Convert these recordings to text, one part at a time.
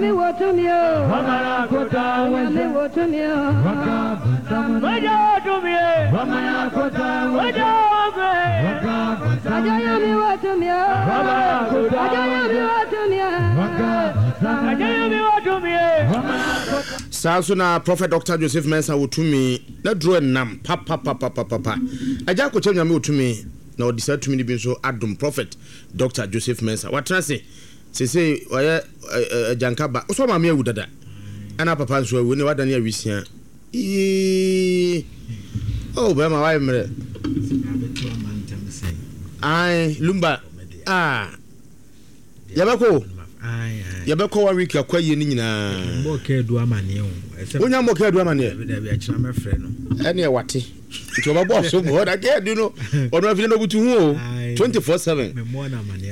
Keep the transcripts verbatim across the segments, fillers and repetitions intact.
Nyame wɔ tumi o. Nyame wɔ tumi o. Agya Nyame wɔ tumi o. Agya Nyame wɔ tumi o. Saa nso na Prophet Doctor Joseph Mensah wɔ tumi na duro nam papapapapapa. Agya Akokyɛm Nyame wɔ tumi na ɔde saa tumi no bi nso adom Prophet Doctor Joseph Mensah. Watena ase seesei ɔyɛ agyanka ba. Wosɔ maame awu dada ɛna papa nso awu ne wadane awisia. Yee. Oh, bɛrima wayɛ mmerɛ. Ae, Lumba. Ah. Yɛbɛkɔ. Yɛbɛkɔ one week akɔ ayie no nyinaa. Mbɔ kɛɛdu amaneɛ o. Wonya mbɔ kɛɛdu amaneɛ? Dabi, dabi, akyerɛ mɛfrɛ no. Ɛne ɛwate. Nti ɔbɛbɔ so bɔ na kɛɛdu no ɔno afei na ɔbutu ho o. twenty-four seven.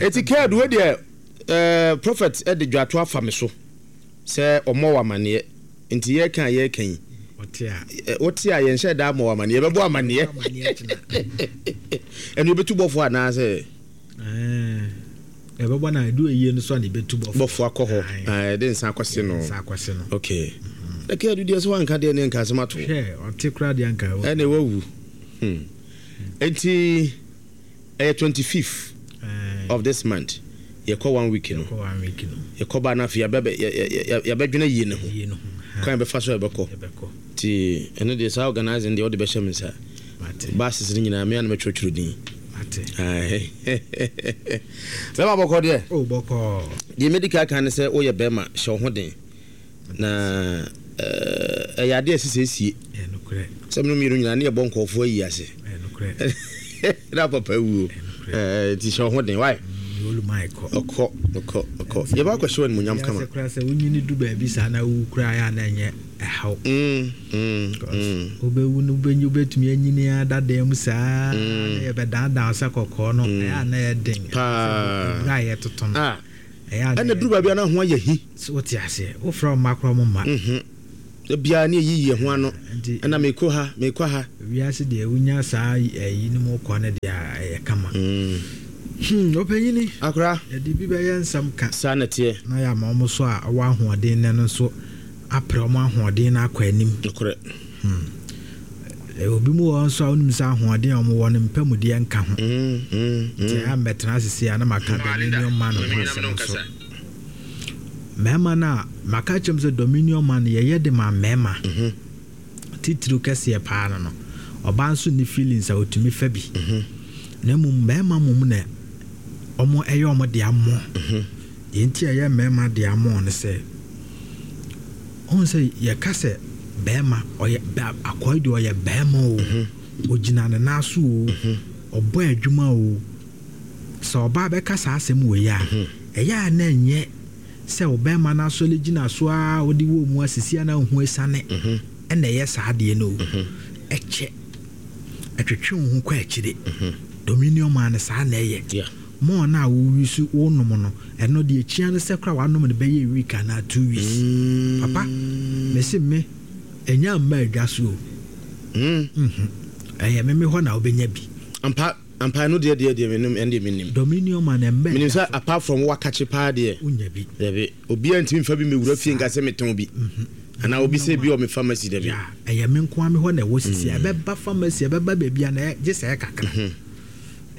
Eti kɛɛdu wo deɛ, ɛɛ prophet ɛde dwato afa me so sɛ ɔmmɔ wɔ amaneɛ. Nti yɛka a yɛka yi. Wote a yɛnhyɛ da mmɔ wɔ amaneɛ. Yɛbɛbɔ amaneɛ. Ɛno yɛbɛtu bɔfoɔ anaasɛ? Ɛbɛbɔ na ɛdu eyie no so a na ɛbɛtu bɔfoɔ. Bɔfoɔ akɔ hɔ. Ɛde nsa akɔse no. Nsa akɔse no. Okay. Na kɛɛdu deɛ sɛ wanka deɛ ne nka asɛm ato. Hwɛ, ɔte koraa deɛ nka. Ɛne wawu. Hmm. Enti ɛyɛ twenty-fifth of this month. Yɛkɔ one week no. Yɛkɔ one week no. Yɛkɔ ba na afei yɛbɛdwene yie ne ho. Yie no ho. Kwan yɛbɛfa so a yɛbɛkɔ. Yɛbɛkɔ. Nti ɛno deɛ, saa organising deɛ, wode bɛhyɛ me nsa. Buses no nyinaa mea na mɛtwerɛtwerɛ din. Bɛma bɔkɔ deɛ. O, bɔkɔ. Deɛ mɛdi ka ka ne sɛ woyɛ bɛrima, hyɛ wo ho den na ɛyɛ adeɛ a ɛsɛ sɛ ɛsie sɛ meno mmienu nyinaa ne yɛbɔ nkɔɔfoɔ ayi ase na papa wuo, nti hyɛ wo ho den wae. Ɔkɔ ɔkɔ ɔkɔ, yɛbɛ akɔhyɛ wɔ animonyam kama. Sɛ wonyini du baabi saa na wowu koraa yɛ a na ɛnyɛ ɛhaw. Wobɛwu no, wobɛtumi anyini adadan mu saa na yɛbɛdaadaa sɛ kɔkɔɔ no, ɛyɛ a na ɛyɛ den paa ɛberɛ a yɛtoto no. Ɛna duru baabi a na ho ayɛ hi. Wote aseɛ, wofrɛ wo mma korɔ mo mma. Biara ne ɛyiyi yɛ ho ano ɛna mekɔ ha, mekɔ ha. Wiase deɛ, wonya saa ɛyi no mu kɔ no deɛ a, ɛyɛ kama. Ɔpanyini. Akora. Yɛde bi bɛyɛ nsɛm ka. Saa na teɛ. Na yɛ ama ɔmo so a ɔwɔ ahoɔden nɛ no nso apere ɔmo ahoɔden no akɔ anim. Nokorɛ. Obi mu wɔ nso a wonim sɛ ahoɔden a ɔmo wɔ no mpamudeɛ nka ho, nti ɛyɛ mmɛtena asese a na maka Dominion Man ho asɛm nso. Mmarima no a maka kyerɛm sɛ Dominion Man yɛyɛ de ma mmarima titiriw kɛseɛ paa no no ɔbaa nso ne feelings a ɔtumi fa bi, na mmom mmarima mmom na ɔmo ɛyɛ ɔmo de amɔ. Deɛ nti a ɛyɛ mmarima de amɔ no sɛ ɔhu sɛ yɛka sɛ bɛrima ɔyɛ akɔe deɛ, ɔyɛ bɛrima o, ogyina ne nan so o, ɔbɔ adwuma o. Sɛ ɔbaa bɛka saa asɛm wɔ yi a, ɛyɛ a na ɛnyɛ sɛ ɔbɛrima no asɔre gyina so a ɔde wɔ mu asisi a na ho esiane ɛna ɛyɛ saa adeɛ no o. Ɛkyɛ ɛtwetwe wo ho kɔ akyire. Dominion Man no saa na ɛyɛ mɔɔ no a wowi so wonom no, ɛno deɛ ekyia no sɛ kora wanom no bɛyɛ week anaa two weeks. Papa, mesi me ɛnya mma adwa so o. Ɛyɛ meme hɔ na wobɛnya bi. Ampa ampa, ɛno deɛ deɛ deɛ menim, ɛno deɛ menim. Dominion Man ɛmbɛ. Menim sɛ apart from wakakye paa deɛ, wonya bi. Dabi, obiara ntumi mfa bi mewura fie nka sɛ metɔn bi anaa obi sɛ bi wɔ me pharmacy, dabi. Ɛyɛ me nko me hɔ na ɛwɔ sisi. Ɛbɛba pharmacy, ɛbɛba baabi a na gye sɛ ɛkakra.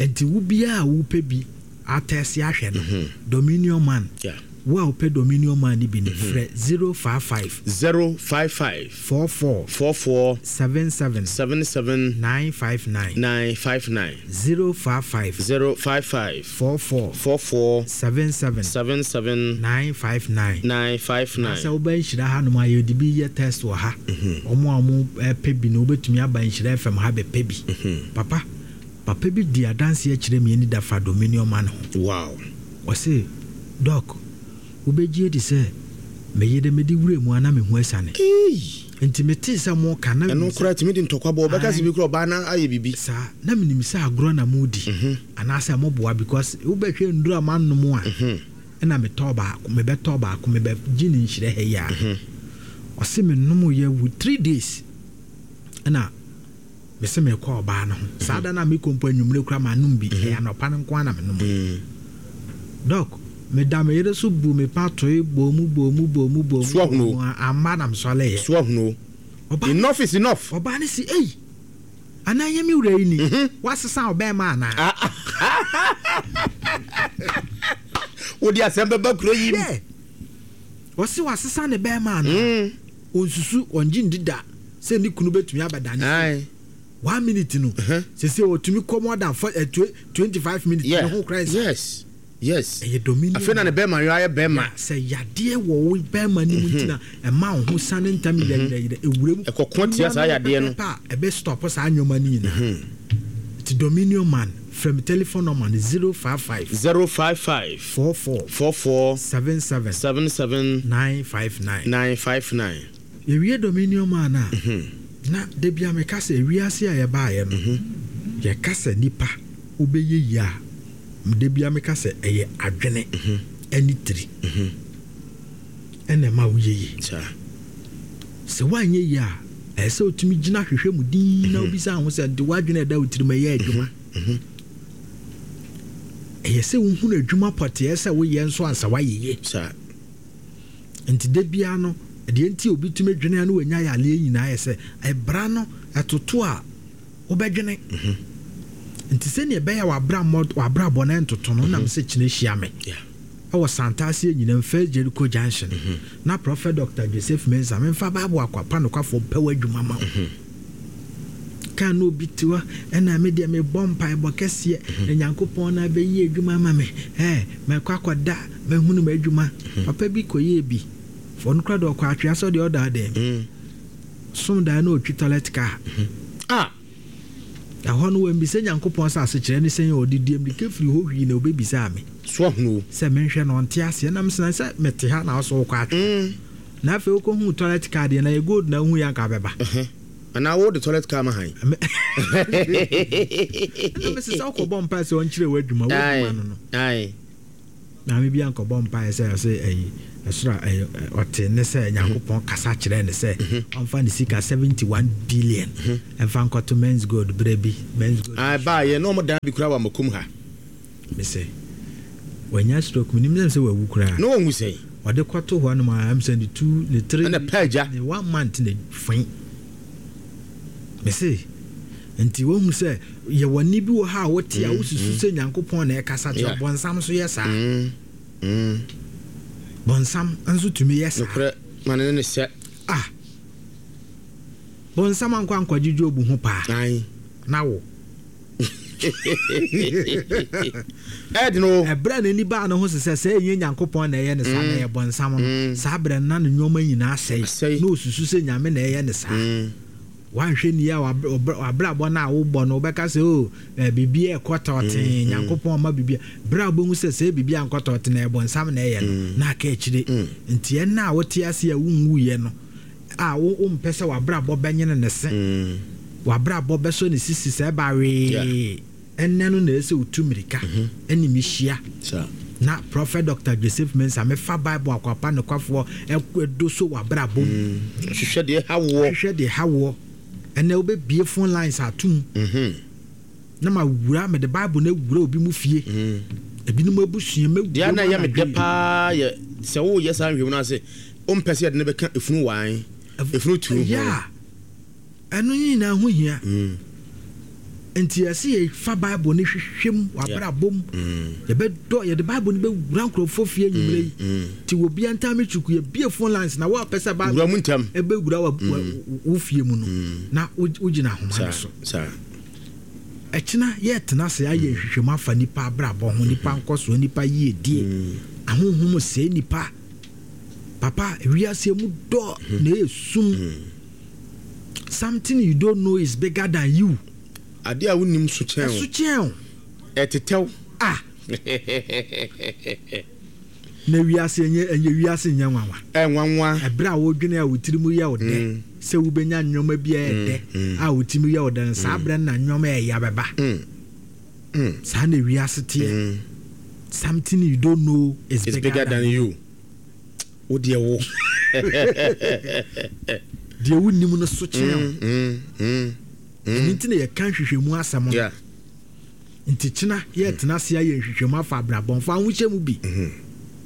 Nti wo biara a wopɛ bi atɛse ahwɛ no, Dominion Man, wo a wopɛ Dominion Man no bi no, frɛ zero five five zero five five four four four four seven seven seven seven nine five nine. nine five nine. zero five five zero five five four four four four seven seven seven seven nine five nine. nine five nine. Sɛ wobɛ Nhyira hanom a, yɛde bi yɛ test wɔ ha. Ɔmo a ɔmo pɛ bi no, wobɛtumi aba Nhyira F M ha bɛpɛ bi. Papa, papa bi di adanseɛ kyerɛ mi ani da fa Dominion Man ho. Wow ɔse, "Doc, wobɛgye adi sɛ meyere mede wura mu a na meho asiane, nti metee sɛ mo ka na ɛno koraa tumi de ntɔkwa bɔ, ɔbɛka sɛ bi koraa ɔbaa na ayɛ biribi. Saa na menim sɛ agorɔ na modi anaasɛ moboa, because wobɛhwɛ nduru a manom a, ɛna metɔ baako, mebɛtɔ baako, mebɛgye ne Nhyerɛ ha yi a, ɔse menom yɛ wu three days, ɛna mese mekɔ ɔbaa no ho. Saa da no a mekɔ mpo, anwummerɛ kora manom bi, ɛyɛ anɔpa no nko a na menom. Doc, Meda me yere so bu me pa toe bɔ mu bɔ mu bɔ mu bɔ mu. So ahono. Bɔ mu a, amma na mesɔleeɛ. So ahono. Ɔbaa Enough is enough. Ɔbaa no si, ei, anaa ɛnyɛ me wura yi ni? Woasesa ɔbɛrima anaa? Wode asɛm bɛba kuro yi mu. Hwɛ, ɔse wasesa ne bɛrima anaa? Ɔnsusu, ɔngye ndi da sɛ ne kunu bɛtumi abɛdane so. Aye. One minute no, sese ɔtumi kɔ more than four, eh, twenty five minutes. Yeah. Ne ho kora nsa. Yes. Yes. Ɛyɛ dominion. Afei na ne bɛrima yɔ ayɛ bɛrima. Yeah, sɛ yadeɛ wɔ wo bɛrima no mu nti na ɛma wo ho sane ntam yerɛyerɛyerɛ ewura mu. Ɛkɔko tia saa yadeɛ no. Pɛpɛpɛ a ɛbɛ stop saa nneɛma no nyinaa. Nti Dominion Man, frɛ me telephone number no zero five five. zero five five. four four. four four. seven seven. seven seven. nine five nine. nine five nine. Yɛwie Dominion Man a, na da bia meka sɛ ewiase a yɛbaeɛ no, yɛka sɛ nipa wobɛyɛ yie a, da bia meka sɛ ɛyɛ adwene ɛne tiri ɛna ɛma woyɛ yie. Saa. Sɛ woanyɛ yie a, ɛsɛ sɛ wotumi gyina hwehwɛ mu din na wobisa ho sɛ nti woadwene ɛda wo tirim ɛyɛ adwuma. Ɛyɛ sɛ wohunu adwuma pɔteɛ sɛ woyɛ nso ansa woayɛ yie. Saa. Nti da biara no, deɛ nti obi tumi dwene a na wanya yareɛ nyinaa yɛ sɛ ɛbra no ɛtoto a wobɛdwene. Nti sɛnea ɛbɛyɛ a w'abrabɔ, w'abrabɔ no ɛntoto no, nam sɛ kyena hyia me. Yeah. Ɛwɔ Santase nyinam First Jericho Junction. Na Prophet Doctor Joseph Mensah memfa Bible akwapa nokwafoɔ mpɛ w'adwuma ma wo. Kan na obi te hɔ ɛna me deɛ mebɔ mpaebɔ kɛseɛ na Nyankopɔn na abɛyi adwuma ama me. Ɛɛ, mɛkɔ akɔda mɛhunu m'adwuma. Papa bi kɔyɛɛ bi. Ɔno koraa deɛ ɔkɔ atwea sɛ deɛ ɔda dɛm. Mm. Som dan na ɔtwi toilet car. Ah. Ɛhɔ no wɔmbisa Nyankopɔn sɛ asekyerɛ ne sɛn a ɔde die mmirika firi hɔ hwii na ɔbɛbisaa me. So ahono. Sɛ menhwɛ no ɔnte aseɛ nam sena sɛ mete ha na ɔso wokɔ atwea. Mm. Na afei wokɔhuu toilet car deɛ na yɛ gold na wohu yɛ anka bɛba. Anaa wo de toilet car ma han. Ɛna mese sɛ wokɔbɔ mpae sɛ ɔnkyerɛ w'adwuma, w'adwuma no no. Aye. Maame bi ankɔbɔ mpae sɛ ɔse ɛyi ɛsoro a ɛyɛ ɔte ne sɛ Nyankopɔn kasa kyerɛ ne sɛ ɔmfa ne sika seventy one billion ɛmfa nkɔto Men's Gold berɛ bi. Men's Gold. Aye, baa yɛ na ɔmo dan bi kura wɔ amakom ha. Mese wanya stroke, menim sɛ sɛ wawu koraa. Na wɔnwu sɛn? Ɔde kɔto hɔ nom a, ɛm sɛ ne two, ne three, Ɛna pɛ agya. ne one month ne fɛn. Mese nti wohu sɛ yɛwɔ nne bi wɔ ha a wote a wosusu sɛ Nyankopɔn na ɛkasa kyerɛ Yeah. bɔnsam nso yɛ saa. Mm. Mm. Bɔnsam nso tumi yɛ saa. Nokorɛ ma ne ne sɛ. Ah. Bɔnsam ankɔ ankɔgye Job ho paa. Aye. Na wo. Ɛd no. Ɛberɛ a n'ani baa ne ho sɛ sɛ ɛnyɛ Nyankopɔn na ɛyɛ ne saa na ɛyɛ bɔnsam no. Mm. Saa berɛ no na ne nneɛma nyinaa asɛe. Asɛe. Na osusu sɛ Nyame na ɛyɛ ne saa. Mm. Wanhwɛ ni a wabrabɔ no a wobɔ no wobɛka sɛ o biribi ɛkɔ tɔɔten Nyankopɔn ma biribi. Berɛ a wobɛhu sɛ sɛ biribi ankɔ tɔɔten na ɛyɛ bɔnsam na ɛyɛ no na aka akyire. Nti ɛnna a wote ase a wonwuiɛ no a wo wompɛ sɛ wabrabɔ bɛnyene ne se. Wabrabɔ bɛsɔ ne sisi sɛ ɛba wee. Ɛnnɛ no na ɛsɛ wotu mmirika ɛne mehyia. Saa. Na Prophet Doctor Joseph Mensah mefa Bible akwapa nokwafoɔ ɛdo so wabrabɔ mu. Hwehwɛ deɛ ha woɔ. Hwehwɛ deɛ ha woɔ. Ɛnɛ wobɛbie phone lines atom. Na ma wura mede Bible na wura obi mu fie. Ebinom abusua mɛwura Deɛ na mu ɛyɛ me dɛ anadwo yi. paa yɛ sɛ woyɛ saa nhwehwɛmu no ase wompɛ sɛ yɛde no bɛka efunu wan efunu tu ho. Yeah. Ɛno nyinaa ho hia. Nti yɛsɛ yɛfa Bible no hwehwɛ mu wabrabɔ mu. Yɛbɛdɔ yɛde Bible no bɛwura nkurɔfoɔ fie anwummerɛ yi. Nti obi antam twuku yɛbie phone lines na woapɛ sɛ Bible Wura mu ntɛm. ɛbɛwura wa- wa- wo fie mu no na wo- wogyina ahoma no Saa so. saa. Ɛkyena yɛtena ase ayɛ nhwehwɛmu afa nipa abrabɔ ho, nipa nkɔsoɔ, nipa yiedie. Ahonhom sɛe nipa. Papa, wiase mu dɔ na ɛyɛ sum. Something you don't know is bigger than you. Adeɛ a wonim so kyɛn Ɛso wo. kyɛn wo. Ɛtetɛw. Ah. Na wiase ɛnyɛ ɛnyɛ wiase nyɛ nwanwa. Ɛnwanwa. Ɛberɛ a wodwene a wo tiri mu yɛ wo dɛ sɛ wobɛnya nneɛma bi a ɛyɛ dɛ a wo tiri mu yɛ wo dɛ no saa berɛ no na nneɛma a ɛyɛ bɛba. Mm. Saa na wiase teɛ. Something you don't know is It's bigger, bigger than you. Wo deɛ wo. Deɛ wonim no so kyɛn wo. Mm, mm, Ɛno nti na yɛka nhwehwɛmu asɛm no. Yeah. Nti kyena yɛtena ase ayɛ nhwehwɛmu afa abrabɔmfo ahohyɛ mu bi.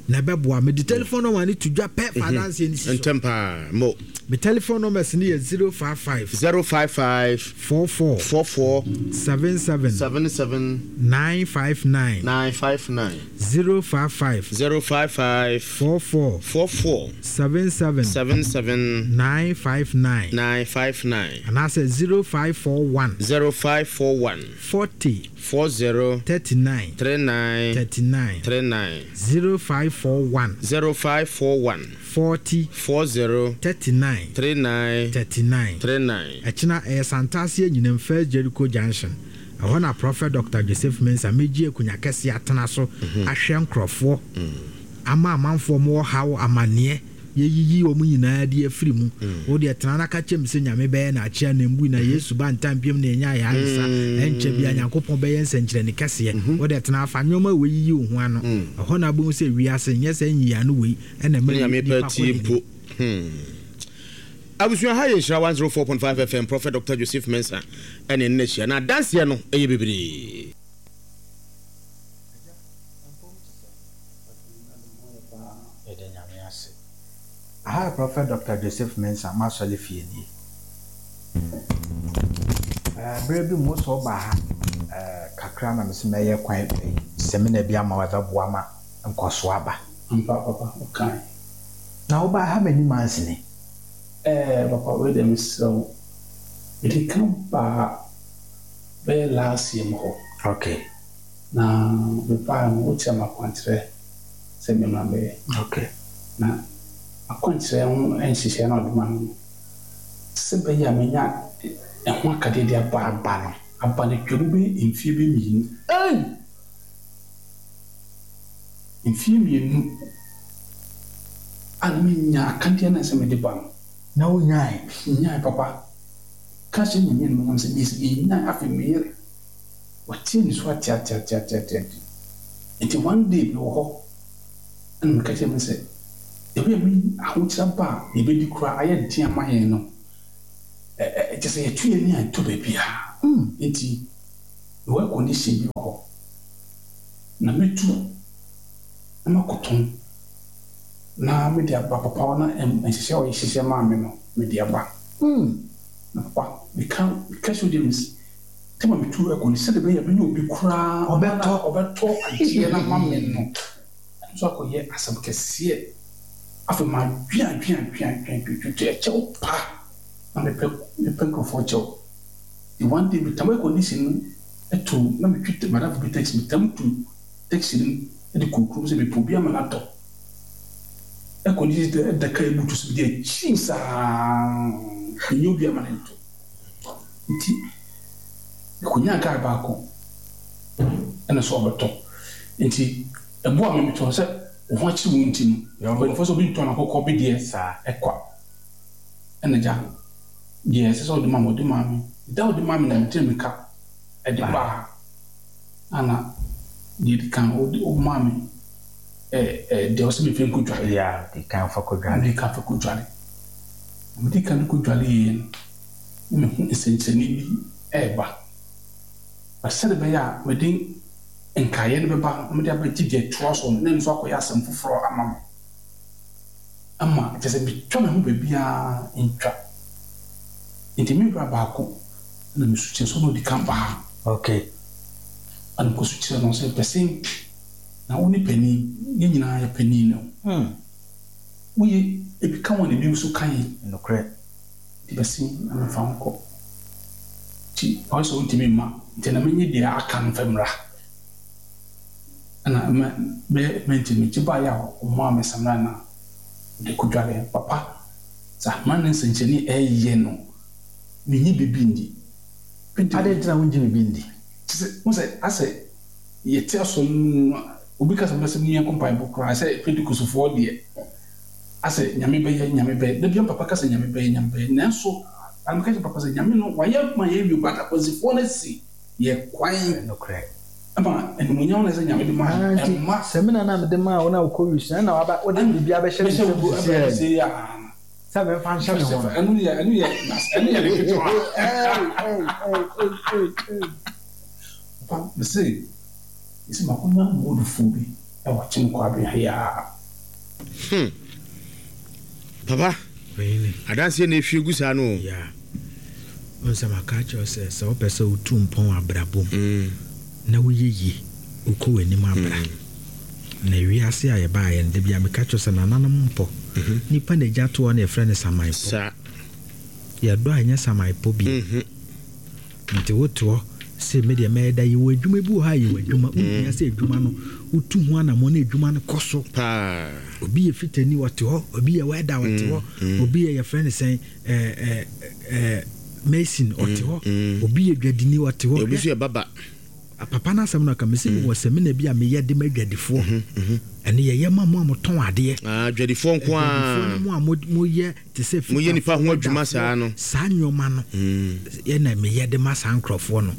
Na ɛbɛboa. Mede telephone number ne to dwa pɛ fa adanseɛ no si so. Ntɛm paa mo. Me telephone numbers ne yɛ zero five five zero five five four four four four seven seven seven seven nine five nine nine five nine zero five five zero five five four four four four seven seven seven seven nine five nine nine five nine anaasɛ zero five four one zero five four one forty four zero thirty nine three nine thirty nine three nine zero five four one zero five four one forty four zero thirty nine three nine thirty nine three nine. Ɛkyena ɛyɛ Santase Anyinam First Jericho Junction. Ɛhɔ na Prophet Doctor Joseph Mensah megye akunya kɛseɛ atena so ahwɛ nkurɔfoɔ ama amanfoɔ mo ɔhaw amanneɛ yɛyiyi wɔn nyinaa de afiri mu. Wo deɛ tena na ka kyerɛ me sɛ Nyame bɛyɛ na akyea na mbui na Yesu ba ntam biom na ɛnya ayɛ ayesa ɛnkyɛ bia Nyankopɔn bɛyɛ nsɛnkyerɛnne kɛseɛ. Wo deɛ tena afa nneɛma wei yiyi wo ho ano. Ɛhɔ na wobɛhu sɛ wiase nyɛ sɛ nyiyiano wei ɛna ɛma Nyame nipa pɛ kɔ tie n'anim. mpo. Hmm. Abusua ha yɛ Nhyira one zero four point five F M Prophet Doctor Joseph Mensah ɛne ne ahyia na adanseɛ no ɛyɛ bebree. Aha Prophet Doctor Joseph Mensah masɔle fie nie. Bere bi mu sɛ ɔba ha kakra na mese mɛyɛ kwan sɛmina bi ama wɔbɛboa ma nkɔso aba. Ampa papa, ɔkan. Na woba ha m'anim ansene. Eh papa, wei deɛ mesrɛ wo. Mede ka ba bɛyɛ last year mu hɔ. Okay. Na mebaa no, wokyerɛ me akwankyerɛ sɛ memmra bɛyɛ. Okay. Na akwankyerɛ ho nhyehyɛeɛ na ɔde ma no. Sɛ bɛyɛ a menya ɛho akadeɛ de aba aba no. Aba no twam bɛyɛ mfeɛ bi mmienu. Ei! Mfeɛ mmienu a menya akadeɛ no sɛ mede ba no. Na wonyae? Nyae papa. Ka kyerɛ Nyame animuonyam sɛ mesi menyae afei meyere. Wɔteɛ me so ate ate ate ate ate ate. Nti one day mewɔ hɔ ɛna meka kyerɛ me sɛ ebi a me ahokyerɛ ba a yɛbɛdi koraa ayɛ den ama yɛn no. Ɛ ɛ kyerɛ sɛ yɛtu yɛn ani a ɛtɔ baabiara. Nti mewɔ air condition bi wɔ hɔ na metu na makɔtɔn na mede aba papa hɔ na nhyehyɛ a ɔhyehyɛ maa me no mede aba. Na papa meka meka kyerɛ James tema metu air condition sɛdeɛ ɛbɛyɛ a menya obi koraa ɔbɛtɔ ɔbɛtɔ adeɛ no ama me no. Ɛno nso akɔyɛ asɛm kɛseɛ. Afei madwen adwen adwen adwen adwen ɛkyɛw pa na mepɛ mepɛ nkurɔfoɔ kyɛw. The one day metam air condition no ɛto na metwi madamfo bi taxi metam tu taxi no de kɔ kurom sɛ mepɛ obi ama no atɔ. Air condition da kaa mu to so mede akyim saa menyɛ obi ama no nto. Nti mekonyaa kaa baako ɛna so ɔbɛtɔ. Nti ɛboa me metɔ sɛ wo ho akyere wo nti no mpanyinfoɔ sɛ obi ntɔn akɔkɔ bi deɛ saa ɛkwa. Ɛna gya deɛ ɛsɛ sɛ ɔde ma me ɔde ma me. Da ɔde ma me na metire me ka ɛde baa ana deɛ ɛdi kan ɔde ɔmaa me ɛɛ ɛɛ deɛ ɔsɛ mefa nkɔdwale. Yeah, de kan fa kɔdwale. Mede kan fa kɔdwale. Mede kan kɔdwale yie no na mehu nsɛnkyerɛnne bi ɛɛba. Na sɛde bɛyɛ a mede nkaeɛ no bɛba na mede abɛgye deɛ ɛtoa so no na ɛno nso akɔyɛ asɛm foforɔ ama me. Ama kyerɛ sɛ metwa me ho baabiara ntwa. Nti me wura baako na mesu kyerɛ sɛ ɔno ɔdi kan baa. Okay. Ɛna mekɔsu kyerɛ no sɛ pɛsɛ na wo ne panin yɛn nyinaa yɛ panin no. Hmm. Woyɛ ebi ka wɔn ebi nso ka yɛn. Nokorɛ. Nti bɛsi na mefa ho kɔ. Nti ɔyɛ sɛ wontumi mma nti na menye deɛ aka no mfa mmra. Ɛna mɛ bɛyɛ mɛnti mekyi baeɛ a ɔmaa me samina na mede kɔdwale. Papa sɛ ahoma ne nsɛnkyerɛnne ɛyɛ no menye biribi ndi. Adɛn nti na wongye biribi ndi? Kyerɛ sɛ wo sɛ asɛ yɛte asɔre mu obi ka sɛ bɛsɛ mu yɛnkɔ mpaebɔ koraa sɛ Pentecostefoɔ deɛ asɛ Nyame bɛyɛ Nyame bɛyɛ. Da bia papa ka sɛ Nyame bɛyɛ Nyame bɛyɛ nanso meka kyerɛ papa sɛ Nyame no wayɛ ma yɛawie but akwansifoɔ no asi yɛ kwan. Nokorɛ. Ɛma animuonyam na sɛ Nyame de ma ɛma. Sɛmina na mede maa wo na wokɔ wi na waba wode biribi abɛhyɛ ne nsam sisi ɛ. Sɛ memfa nhyɛ me ho no. Ɛno yɛ ɛno yɛ ɛno yɛ ne ketewa. Papa mese mese makonya goldfoɔ bi. Ɛwɔ Kyem Kwabena ha yi ara. Hmm. Papa, adanseɛ na ehwie gu saa no o. Yeah. Wohu sɛ maka akyerɛ wo sɛ, sɛ wopɛ sɛ wotu mpɔn wɔ abrabɔ mu mm. na woyɛ yie, wokɔ w'anim abra. Mm. Na wiase a yɛbaeɛ no, da bi a meka kyerɛ wo sɛ nananom mpɔ. Mm-hmm. Nipa na egya toɔ na yɛfrɛ no saman pɔ. Saa. Yɛdɔ a ɛnyɛ saman pɔ bio. Mm-hmm. Nti wote hɔ se me deɛ mɛyɛ da, yɛwɔ adwuma bi wɔ hɔ a yɛwɔ adwuma, wonhia sɛ adwuma no wotu ho anammɔn na adwuma no kɔ so. Paa. Obi yɛ fitani ɔte hɔ, obi yɛ wɛda ɔte hɔ, obi yɛ yɛfrɛ no sɛn ɛɛ ɛɛ ɛɛ mason ɔte hɔ, obi yɛ dwadini ɔte hɔ. Obi nso yɛ baba. Papa no asɛm no ɔka mese mewɔ samina bi a meyɛ de ma adwadifoɔ. Ɛno yɛyɛ ma mo a motɔn adeɛ. Ah, adwadifoɔ nko ara. Adwadifoɔ ne mo a moyɛ te sɛ fitafoɔ, Moyɛ nipa ho adwuma saa no. Saa nneɛma no ɛna meyɛ de ma saa nkurɔfoɔ no.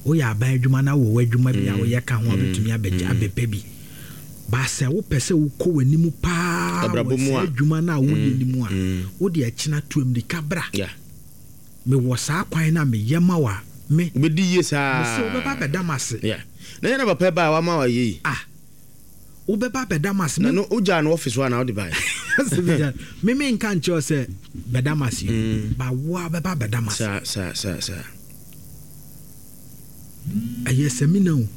Woyɛ aban adwuma na wowɔ w'adwuma bi a woyɛ ka ho a wobɛtumi abɛgye abɛpɛ bi. Ba sɛ wopɛ sɛ wokɔ w'anim paa wɔ saa adwuma no a woyɛ no mu a, wode ɛkyena tu ammirika bra. Mewɔ saa kwan no a meyɛ ma wo a, me. Wobɛdi yie saa. Mese wobɛba abɛda m'ase. Yeah. Na yɛ na papa ɛbaa a wama wayɛ yi. Ah. Wobɛba abɛda m'ase. Na no wogyaa no office hɔ anaa wode baeɛ? Me menka nkyerɛ wo sɛ bɛda m'ase o, but wo ara wobɛba abɛda m'ase. Saa, saa, saa, saa. Ɛyɛ samina o.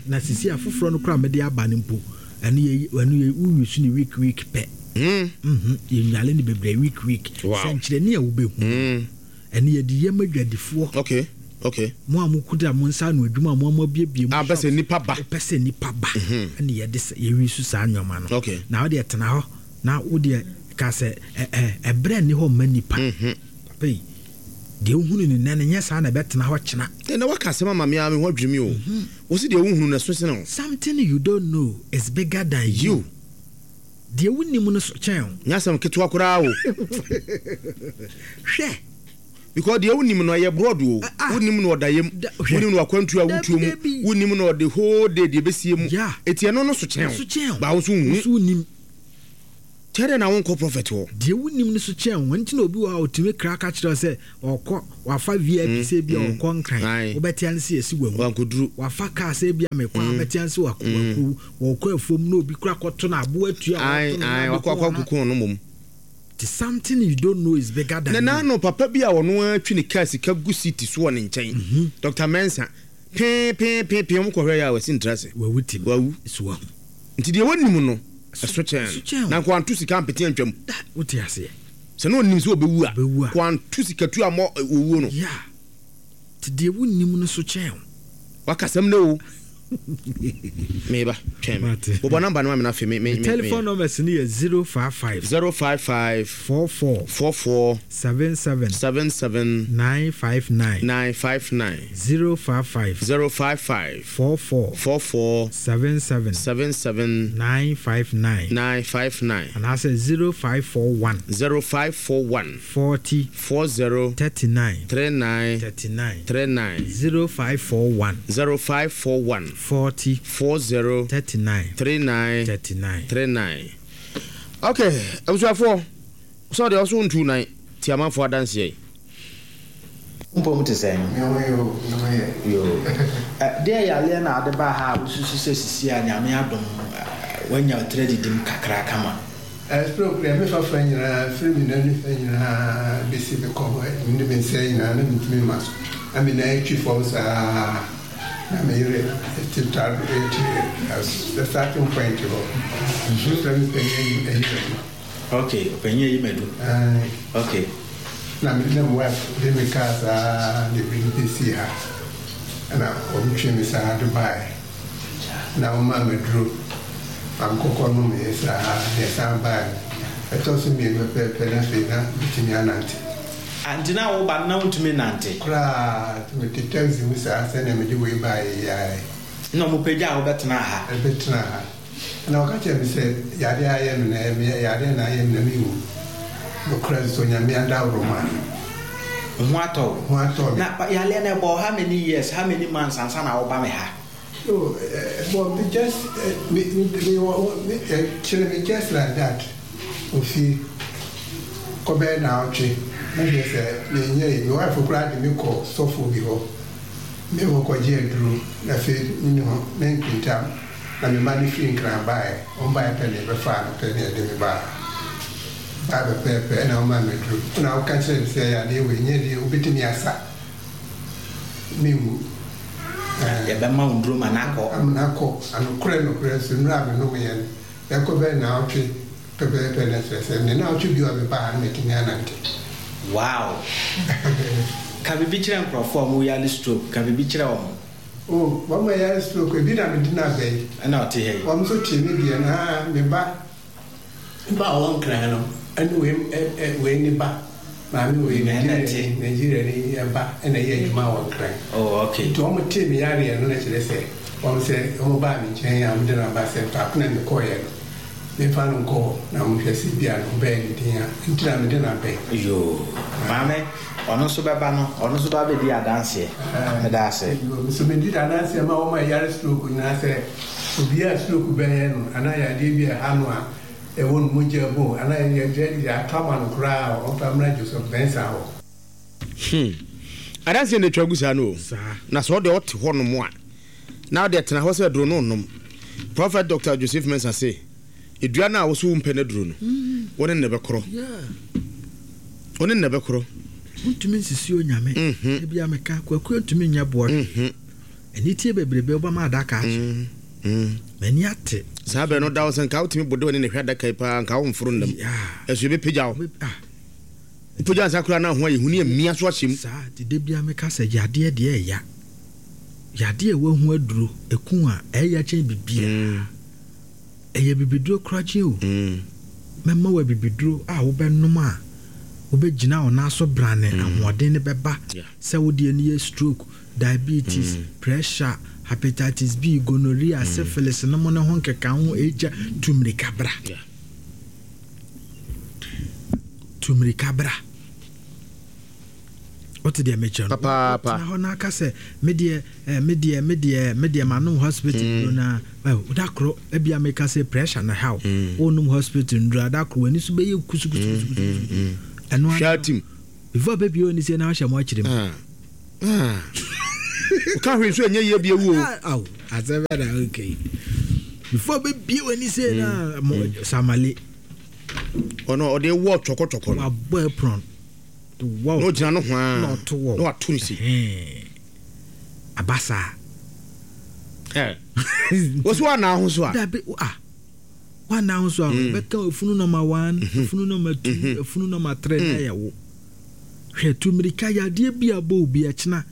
Na sisi afoforɔ no koraa a mede aba no mpo, ɛno yɛ, ɛno yɛ, wo use no week week pɛ. Mhm, yɛnwale no bebree week week. Wow. Sɛnkyerɛnne a wobɛhu no, ɛno yɛde yɛ ma adwadifoɔ. Okay, okay. Mo a mokuta mo nsa ano adwuma a mo a moabuebue mo Ah, pɛ sɛ shops, nnipa ba. wopɛ sɛ nnipa ba, ɛna yɛde sa, yɛwi so saa nneɛma no. Okay. Na wodeɛ tena hɔ, na wodeɛ ka sɛ, ɛ, ɛ, ɛberɛ nni hɔ mma nnipa. Papa yi, deɛ wohunu no nnɛ no, nyɛ saa na ɛbɛtena hɔ kyena. Ɛnna woaka asɛm ama me ara me ho adwiri me o. Wo se deɛ wohunu no ɛso sene wo. Something you don't know is bigger than you. You. Deɛ wonnim no so kyɛn wo. Nyɛ asɛm ketewa koraa o. Hwɛ! Because deɛ wonim no ɛyɛ broad o. Ah. Wonim no ɔdayam, Da, hwɛ. wonim no akwantuo a Dabi, wotuo mu, dabi. wonim no the whole day deɛ ɛbɛsie mu. Yeah. Eti ɛno no so kyɛn wo. So kyɛn wo. Ba wo nso nhu. Wo nso wonnim. Kyɛ dɛn na wonkɔ prophet hɔ? Deɛ wonnim no so kyɛn wo. Ɛno nti na obi wɔ hɔ a ɔtumi kra ka kyerɛ wo sɛ ɔkɔ, wafa V I P sɛ ebia ɔkɔ Nkran, Aye. wobɛte ane sɛ yɛsi wawu. Wankoduru. Wafa car sɛ ebia mekɔ a, wobɛte ane sɛ wak-, waku. Wɔkɔ afuom na obi kora kɔto no aboa tua a Aye, wɔto no na aye, abɛku wakɔ akɔ wɔn a. akɔku ɔno mmom. Nti something you don't know is bigger than Na you. n'ano papa bi a ɔno ara twi ne car sika gu city so wɔ ne nkyɛn. Doctor Mensah, pee pee pee pee, wɔn kɔhwɛ yɛ a wasi ntra ase. Wawu tim. Wawu. So wahu. Nti deɛ wɔnim no, ɛso kyɛn Ɛso no. kyɛn o. Na nka wanto sika ampete antwam. Da, wote aseɛ. Sɛ na ɔnim sɛ ɔbɛwu a, Ɔbɛwu a. nka wanto sika tu ammɔ owuo no. Yeah. Nti deɛ wonnim no so kyɛn o. Wakasɛm no o. Meba, twɛn me. Mate. Bobɔ number no ma me na afei me, me, Me me, telephone me. numbers no yɛ zero five five. Zero five five. Four four. Four four. Seven seven. Seven seven. Nine five nine. Nine five nine. Zero five five. Zero five five. Four four. Four four. Seven seven. Seven seven. Nine five nine. Nine five nine. Anaasɛ zero five four one. Zero five four one. Forty. Four zero. Thirty nine. Three nine. Thirty nine. Three nine. Zero five four one. Zero five four one. Forty. Four zero. Thirty nine. Three nine. Thirty nine. Three nine. Okay, abusuafoɔ, sɛ ɔde ɔso ntu nan, ti amanfoɔ adanseɛ yi. Mpom te sɛn? Me ho yɛ o, me ho yɛ. Yo. Ɛ, deɛ yareɛ na ade baa ha a wosusu sɛ sisi a Nyame adom, ɛ, woanya wo tiri adidim kakra kama? Ɛ, stroke deɛ, me fafa nyinaa, firi me nan nifa nyinaa bɛsi me kɔn hɔ, ne me nsa nyinaa, na mentumi mma so. Na me nan twi fam saa, na me yere te ta, te, the starting point hɔ. Mefrɛ me panyin ayi madu. Okay, ɔpanyin ayi madu. Aye. Okay. Na me ne me wife de me kaa saa de bi bɛsii ha. Ɛna wɔtwe me saa de baeɛ. Na wɔmaa me duro. Ma me kɔkɔ nom yɛ saa, na ɛsan baeɛ no. Ɛtɔ so mmienu pɛpɛɛpɛ na afei na metumi anante. Ah, nti na woba no na wontumi nante? Koraa, nti mete taxi mu saa sɛnea mede wei baeɛ yi ara. Na ɔmo pagya a wobɛtena ha? Ɛbɛtena ha. Na ɔka kyerɛ me sɛ yadeɛ ayɛ me na ɛyɛ me yadeɛ na ayɛ me na mewu. Nokorɛ nso Nyame adaworo ma. Ho atɔ wo? Ho atɔ me. Na yadeɛ no ɛbɔɔ how many years, how many months ansa na woba me ha? No, ɛbɔɔ me just, me, me, me, me, kyerɛ me just like that. Ofie. Kɔbɛyɛ na ɔtwe. Na hwɛ sɛ menyɛ yi. Me wife koraa de me kɔ sɔfo bi hɔ. Me wɔ kɔgye aduro. Na afei me ne ho, me nkentam. Na me mma no firi Nkran baeɛ. Wɔn baeɛ pɛ na yɛbɛfaa no pɛ na yɛde me baa. Baa pɛpɛɛpɛ ɛna wɔmaa me aduro. Ɛna wɔka kyerɛɛ me sɛ yadeɛ wei nyɛ deɛ wobɛtumi asa. Menwu. Yɛbɛma wo nnuro ma no akɔ. Ama no akɔ. Anokorɛ nokorɛ nso nnuro a menomeeɛ no, ɛkɔ bɛyɛ nnawɔtwe pɛpɛɛpɛ na kyerɛ sɛ me nnawɔtwe bio a mebaa ha no matumi anante. Wow! Ka biribi kyerɛ nkurɔfoɔ a wɔyare stroke, ka biribi kyerɛ wɔn. Oh, wɔn a yare stroke, ebi na mede no aba yi. Ɛna ɔte ha yi. Wɔn nso tee me deɛ no, aa, me ba, me ba a ɔwɔ Nkran no, ɛne wei, ɛ, ɛ, wei ne ba, maame wei, Ɛna Nigeria ɛte. ni, Nigeria ni ba, ɛna ɛyɛ adwuma wɔ Nkran. Oh, okay. Nti wɔn tee me yareɛ no na kyerɛ sɛ, wɔn sɛ, wɔn baa me nkyɛn a wɔde no aba sɛ faako na mekɔeɛ no, memfa no nkɔ hɔ na wɔnhwɛ sɛ ebia ne ho bɛyɛ no den a, nti na mede no aba yi. Yoo, maame, ɔno nso bɛba no, ɔno nso ba bɛdi adanseɛ. Meda ase. Yoo, me nso medi adanseɛ ma wɔn a ɛyare stroke nyinaa sɛ, obiara a stroke bɛyɛ no anaa yadeɛ bi a ɛha no a ɛwɔ no mogya mu anaa yɛ yɛatɔ ama no koraa a, ɔmfa mmra Joseph Mensah hɔ. Hmm. Adanseɛ na ɛtwa gu saa no o. Na sɛ ɔde ɔte hɔ nom a, na ɔde tena hɔ sɛ aduro no nnom. Prophet Doctor Joseph Mensah se, edua no a wo so wompɛ no aduro no, wo ne no bɛkorɔ. Wo ne no bɛkorɔ. Wontumi nsisi Onyame. Ebia meka, Kwaku ntumi nyɛ boɔ hwee. Aniteɛ bebrebe wobɛma adaka akye. M'ani ate. Saa bɛn no da wo sɛ nka wotumi bode w'ani na hwɛ adaka yi paa nka womforo nnam. Ɛso yɛbɛpagya wo. Wopagya nsa koraa na ho ayɛ hu ne amia so ahyɛ mu. Saa nti da biara meka sɛ yadeɛ deɛ ɛya. Yadeɛ a wahu aduro, ɛku a, ɛya kyɛn biribiara. Ɛyɛ bibiduro korakye o. Mɛma wo abibiduro a wobɛnom a wobɛgyina wo nan so brane, ahoɔden no bɛba. Sɛ wo deɛ no yɛ stroke, diabetes, pressure, hepatitis B, gonorrhea, syphilis no mo ne ho nkekaho, H I V, tu mmirika bra. Tu mmirika bra. Wote deɛ mekyerɛ no? Papaapa. Tena hɔ na aka sɛ, me deɛ, eh, me deɛ, me deɛ, me deɛ manom hospital nnuro na, eh, da koro, ebia meka sɛ pressure na ɛha wo. Wonom hospital nnuro a, da koro w'ani so bɛyɛ kusukusukusukusu. Ɛno ara Hwɛ atim. Before bɛbie w'ani sɛ na wahyɛ mo akyerɛ mu. Ah. Ah. Woka hwee nso ɛnyɛ yie bi ewu o. Aw, asɛm bɛ na okay. Before bɛbie w'ani sɛ na mo samale. Ɔno ɔde wɔ twɔkɔtwɔkɔ no. Wabɔ apron. Wow. Na ogyina no ho a. Na ɔto wɔ. Na wato ne si. Aba saa. Eh. Wosi wa na ho so a. Dabi ah. Wa na ho so a. Bɛka efunu number one, efunu number two, efunu number three na yɛ wo. Hwɛ tu mirika yadeɛ bi a bɔ obi ɛkyena.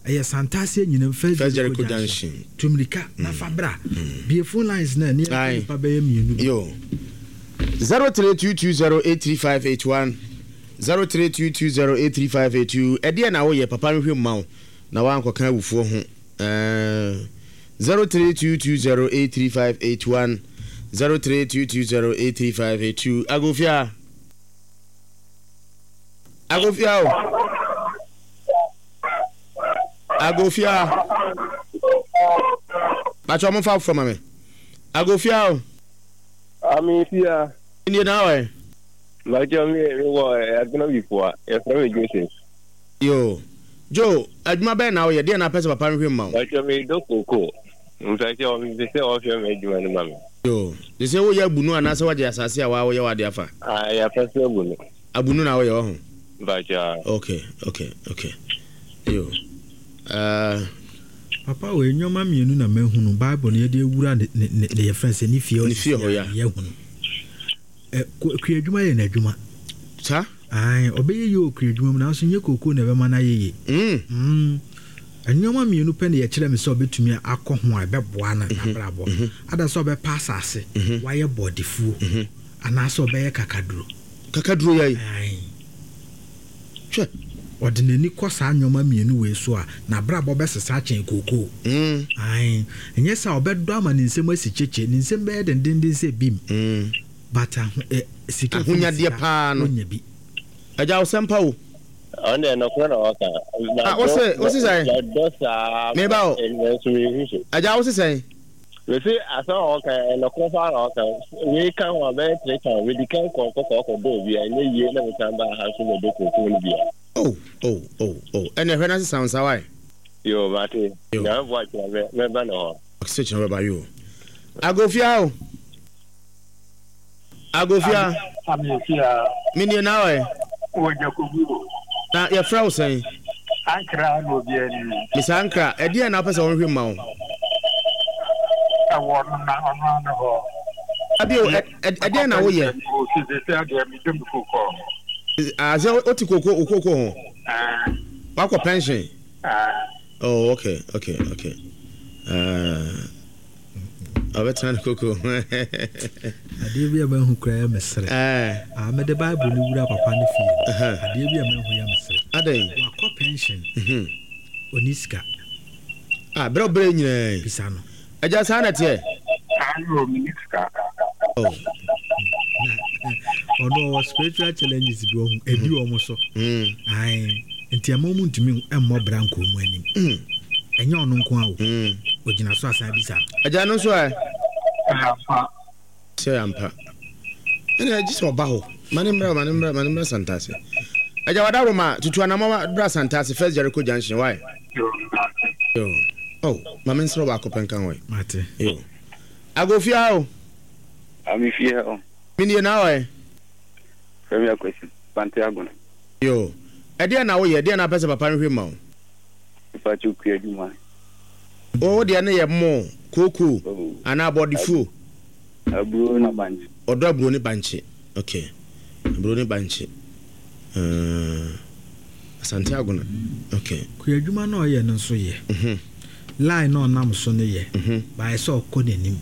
Ɛyɛ Santase nyinam First Jericho Junction. Tu mirika na fa bra. Bie phone lines na ne yɛ nipa bɛyɛ mmienu. Yo. zero three two two zero eight three five eight one zero three two two zero eight three five eight two. Ɛdeɛ na woyɛ papa nhwɛ mma wo na wankɔka awufoɔ ho. Zero three two two zero eight three five eight one zero three two two zero eight three five eight two. Agofia. Agofia o. Agofia. Bacho mo fa fo ma me. Agofia o. Ami fia. Ndiye na we. Bacho me me wo aduna bi fo a. Yɛfrɛ me Joseph. Yo. Joe, adwuma bɛn na woyɛ? Deɛ na apɛ sɛ papa nhwɛ mma wo? Bacho me dɔ koko. Mpɛ sɛ ɔmpɛ sɛ ɔhwɛ me adwuma no ma me. Yo. De sɛ woyɛ abunu anaasɛ woagye asase a waa woyɛ w'ade afa? Ah, yɛapɛ sɛ abunu. Abunu na woyɛ wɔ ho? Bacho. Okay, okay, okay. Yo. Uh, Papa wei nneɛma mmienu na mahunu Bible no yɛde awura ne ne ne ne yɛfrɛ sɛ ne fie Ne fie hɔ, ya. yɛhunu. Ɛ kua adwuma yɛ n'adwuma. Saa? Ae, ɔbɛyɛ yie wɔ kua adwuma mu nanso nyɛ kookoo na ɛbɛma no ayɛ yie. Mm. Mm. Nneɛma mmienu pɛ na yɛkyerɛ me sɛ ɔbɛtumi akɔ ho a ɛbɛboa no n'abrabɔ. Ada sɛ ɔbɛpa asase, wayɛ bɔɔdefuo, anaasɛ ɔbɛyɛ kakaduro. Kakaduro yɛ yi? Ae. Hwɛ. Ɔde n'ani kɔ saa nneɛma mmienu wei so a, n'abrabɔ bɛsesa akyɛn kookoo. Mm. Ae. Ɛnyɛ sɛ ɔbɛdɔ ama ne nsam asi kyekye, ne nsam bɛyɛ dendenden sɛ bim. Mm. But aho, eh, sika Ahonyadeɛ paa no. Ɔnya bi. Agya wo sɛmpa o. Ɔno deɛ nɔkorɛ na ɔka. Ah, wose, wose sɛn? Madɔ saa. Meba o. Nanso mehu so. Agya wose sɛn? Mese asɛm a ɔka nɔkorɛ paa na ɔka. Wei ka ho a bɛyɛ three times. Medi kan kɔ kɔkɔ kɔdɔ obi a ɛnyɛ yie na mesan baa ha nso bɛdɔ kookoo no bia. Oh, oh, oh, oh. Ɛnna ɛhwɛ na sesa wo nsa wae. Yo, mate. Yo. Nyame boa kyerɛ mɛ mɛba ne hɔ. Ɔsɛ kyerɛ bɛba yo. Agofia o. Agofia. Amefia. Menie na ɔyɛ. Wɔ Jacobu. Na yɛfrɛ wo sɛn? Ankra na obi ani. Misa Ankra, ɛdeɛn na wopɛ sɛ wɔnhwɛ mma wo? Ɛwɔ no na ɔno ano hɔ. Abio, ɛdeɛn na woyɛ? Sisi adeɛ medɔ me koko. Ah, sɛ wote koko, wo koko ho? Wakɔ pension? Oh, okay, okay, okay. Uh, ɔbɛtena ne koko. Adeɛ bi a mahu koraa yɛ mesere. Ah, mede Bible no wura papa no fie no. Adeɛ bi a mahu yɛ mesere. Adɛn? Wakɔ pension. Ɔni sika. Ah, berɛ berɛ nyinaa. Bisa no. Agya saa na teɛ? Ayo, meni sika. Oh. Na ɔno ɔwɔ spiritual challenges bi ɔho ebi wɔn so. Ae, nti ɛma wɔn ntumi mmɔ bra nkɔ wɔn anim. Ɛnyɛ ɔno nko a o. Ogyina so asan bisa no. Agya no nso ɛ? Ampa. Sɛ ampa. Ɛna agye sɛ ɔba hɔ. Ma ne mmra, ma ne mmra, ma ne mmra Santase. Agya wada Roma, tutu anamɔ bra Santase, First Jericho Junction, why? Yo. Oh, ma me nsrɛ baako pɛ nka ho ɛ. Mate. Yo. Agofia o. Amefia o. Menie na ɔɛ. Fɛmi Akwasi, Bante Agona. Yo. Ɛdeɛn na woyɛ? Ɛdeɛn na apɛ sɛ papa nhwɛ ma wo? Mepakyɛw kua adwuma. Wo deɛ no yɛ mo, kooko, anaa abɔdefuo? Aburo na bankye. Ɔdɔ aburo ne bankye. Okay. Aburo ne bankye. Uh, Asante Agona. Okay. Kua adwuma na ɔyɛ no nso yɛ. Mhm. Line na ɔnam so no yɛ. Mhm. Baayɛ sɛ ɔkɔ n'anim.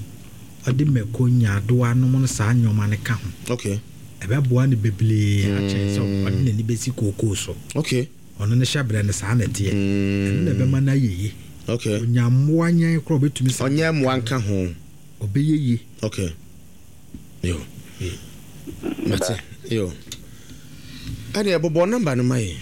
Ɔde mako, nyaadoa nom no saa nneɛma no ka ho. Okay. Ɛbɛboa no bebree akyɛn sɛ ɔde n'ani bɛsi kookoo so. Okay. Ɔno ne hyɛbrɛ no saa na ɛteɛ. Ɛno na ɛbɛma no ayɛ yie. Okay. Onya mmoa nyɛn koraa ɔbɛtumi sa. Ɔnyɛ mmoa nka ho. Ɔbɛyɛ yie. Okay. Yo. Mate. Yo. Ɛdeɛ bobɔ number no ma yɛ.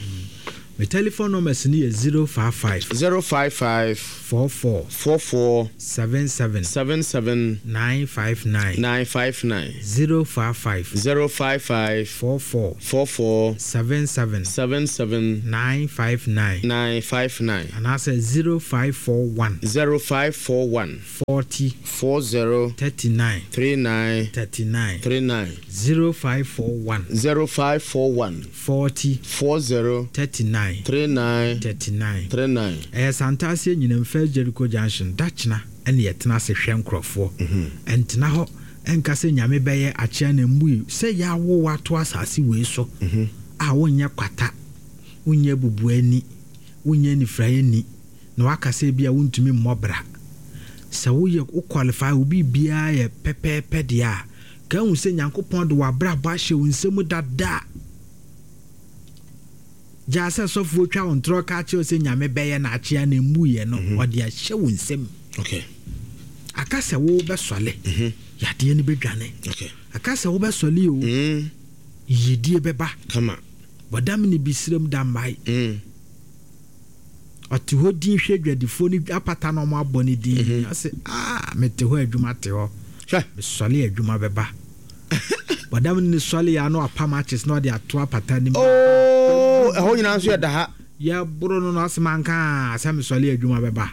Me telephone numbers no yɛ zero five five. zero five five. four four. four four. seven seven. seven seven. nine five nine. nine five nine. zero five five. zero five five. four four. four four. seven seven. seven seven. nine five nine. nine five nine. Anaasɛ zero five four one. zero five four one. forty. four zero. thirty nine. three nine. thirty nine. three nine. zero five four one. zero five four one. forty. four zero. thirty nine. three nine. thirty nine. three nine. Ɛyɛ Santase Anyinam First Jericho Junction dakyena ɛne yɛtena ase hwɛ nkurɔfoɔ. Ɛntena hɔ ɛnka sɛ Nyame bɛyɛ akyea na mmui sɛ yɛawo wato asase wei so a wonyɛ kwata, wonyɛ bubuani, wonyɛ nifraeni na waka sɛ bi a wontumi mmɔ bra. Sɛ woyɛ wo qualify wo biribiara yɛ pɛpɛɛpɛ deɛ a ka hu sɛ Nyankopɔn de w'abrabɔ ahyɛ wo nsam dada. Gyaa sɛ sɔfoɔ twa wo ntorɔ ka kyerɛ sɛ Nyame bɛyɛ na akyea na mmuyɛ no ɔde ahyɛ wo nsam. Okay. Aka sɛ wo bɛsɔle. Yadeɛ no bɛdwane. Okay. Aka sɛ wo bɛsɔle o. Yiyedie bɛba. Kama. Bɔdam ne bisirem da mmae. Ɔte hɔ din hwɛ dwadifoɔ no apata na ɔmo abɔ ne din. Ɔse ah mete hɔ adwuma te hɔ. Hwɛ. Mesɔle adwuma bɛba. Bɔdam ne sɔle ya no apam akye na ɔde ato apata ne mu. Oh, ɛhɔ nyinaa nso yɛ da ha. Yɛboro no na ɔse manka sɛ mesɔle adwuma bɛba.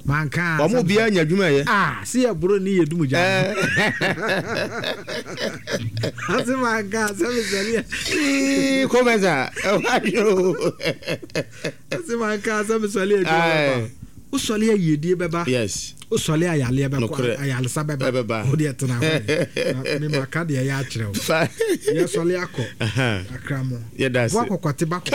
Manka. Wɔn obiara nya adwuma yɛ. Ah, si yɛboro ne yɛ dum gya. Ɔse manka sɛ mesɔle. Ii kɔmɛsa ɛwɔ ahwɛ o. Ɔse manka sɛ mesɔle adwuma bɛba. Wosɔle ayiedie bɛba. Yes. Wosɔle ayaleɛ bɛkɔ Nokorɛ. ayalesa bɛba. Ɛbɛba. Wo deɛ tena hɔ. Me maka deɛ ɛyɛ akyerɛ wo. Yɛsɔle akɔ. Akramo. Yɛda ase. Boa kɔkɔte ba Kee,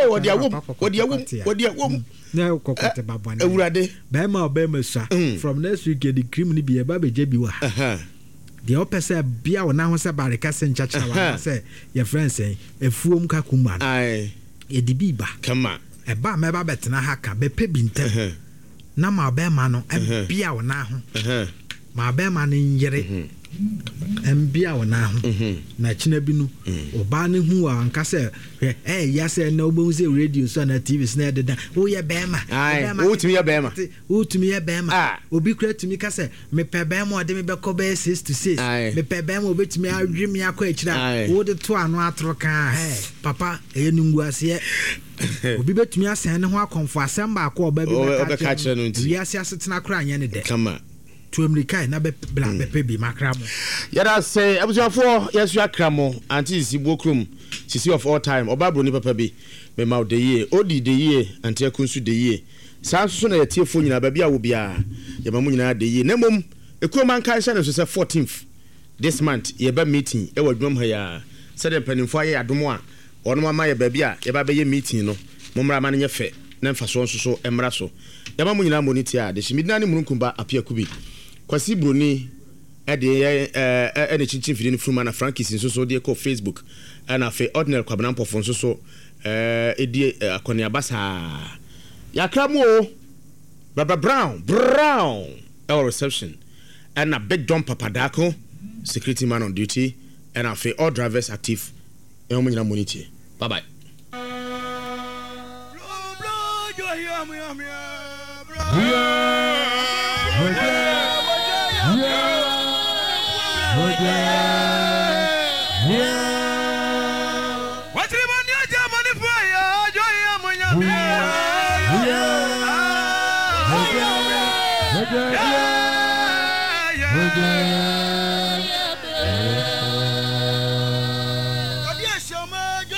wɔde awom, kɔkɔte wɔde awom, wɔde awom. Na kɔkɔte ba bɔne. Awurade. Bɛrima a ɔbɛrima sua. From next week yɛde cream no bi yɛba bɛgye bi wɔ ha. Deɛ ɔpɛ sɛ bia wo nan ho sɛ bareka sɛ nkyɛkyerɛ wa sɛ yɛfrɛ nsɛn afuom kakuma no. Yɛde bi ba. Kama. Ɛba a mɛba bɛtena ha ka bɛpɛ bi ntɛm. Na ma ɔbɛrima no ɛbia wo nan ho. Ma ɔbɛrima no nyere. Ɛmbia wo nan ho. Na kyena bi no ɔbaa no hu a anka sɛ hwɛ ɛyɛ sɛ na wobɛhu sɛ radio so anaa T V so na ɛdeda woyɛ bɛrima. Wotumi yɛ bɛrima. Wotumi yɛ bɛrima. Obi kura tumi ka sɛ mepɛ bɛrima ɔde me bɛkɔ bɛyɛ six to six. Mepɛ bɛrima obɛtumi awe me akɔ akyire a wode to ano atoro kaa hɛ papa ɛyɛ nunguaseɛ. Obi bɛtumi asɛn ne ho akɔmfo asɛm baako ɔba bi bɛka kyerɛ no nti wiase asetena koraa nyɛ ne dɛ. Kama. Tu mmirika na bɛ bra bɛpɛ bi makra mo. Yɛda sɛ abusuafoɔ yɛso akra mo. Auntie Sisi Buokrom, Sisi of all time, ɔba buroni papa bi, mema wo de yie, odi de yie, Auntie Aku nso de yie. Saa nso so na yɛtiefoɔ nyinaa, baabi a wo biara, yɛma mo nyinaa de yie. Na mmom ekurom anka nhyɛ no nso sɛ fourteenth this month yɛba meeting ɛwɔ adwuma mu ha yi, sɛdeɛ mpanimfoɔ ayɛ adom a wɔn ama yɛ baabi a yɛba bɛyɛ meeting no. Mommra ma no nyɛ fɛ na mfasoɔ nso so mmra so. Yɛma mo nyinaa mmɔ ne tie a de hyɛ medina ne mununkumba Apia Kubi Kwasi Buroni ɛde yɛ ɛɛ ɛne kyinkyin fidie no firi mu, na Frankis nso so de kɔ Facebook, ɛna afei Ordinary Kwabena Mpɔfo nso so ɛɛ edi akɔneaba saa. Yakra mu o, Baba Brown Brown ɛwɔ reception, ɛna Big John Papadako, security man on duty, ɛna afei all drivers active, ɛna wɔn nyinaa mmɔ ne tie. Bye bye. Yeah.